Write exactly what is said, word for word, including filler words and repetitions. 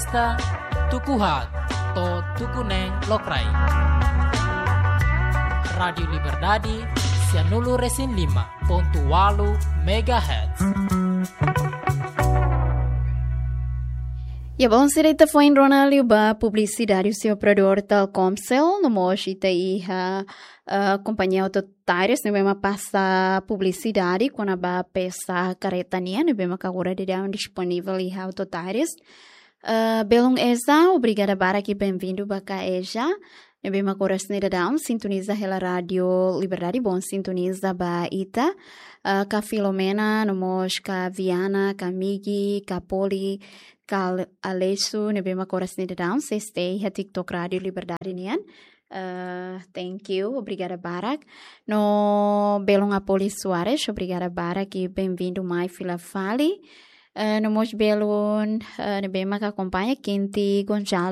Ita tuku haat to'o tuku neen lokraik. Rádiu Liberdade, sianulu resin lima pontu walu megahertz. Ya, bom, sira ita foin rona liu ba publisidade husi operadór Telkomcel, no mós ita iha, eh, kompañia Auto Tires, ne'ebé mak pasa publisidade kona-ba peça karreta nian, ne'ebé mak agora daudaun disponível iha Auto Tires. Eh, belun Eza, obrigada barak i bem-vindu ba ka Eza. Ne'ebé mak oras ne'e daudaun sintoniza hela Rádiu Liberdade, bom sintoniza ba ita. Eh, ka Filomena, no mós ka Viana, ka Migi, ka Poli, ka Ale-, Aleixo, ne'ebé mak oras ne'e daudaun sei stay iha TikTok Rádiu Liberdade nian. Eh, thank you, obrigada barak. No belun Apoli Soares, obrigada barak i bem-vindu mai fila fali. Eh, no mós belun, eh, ne'ebé mak akompaña Kinti Gonçalves.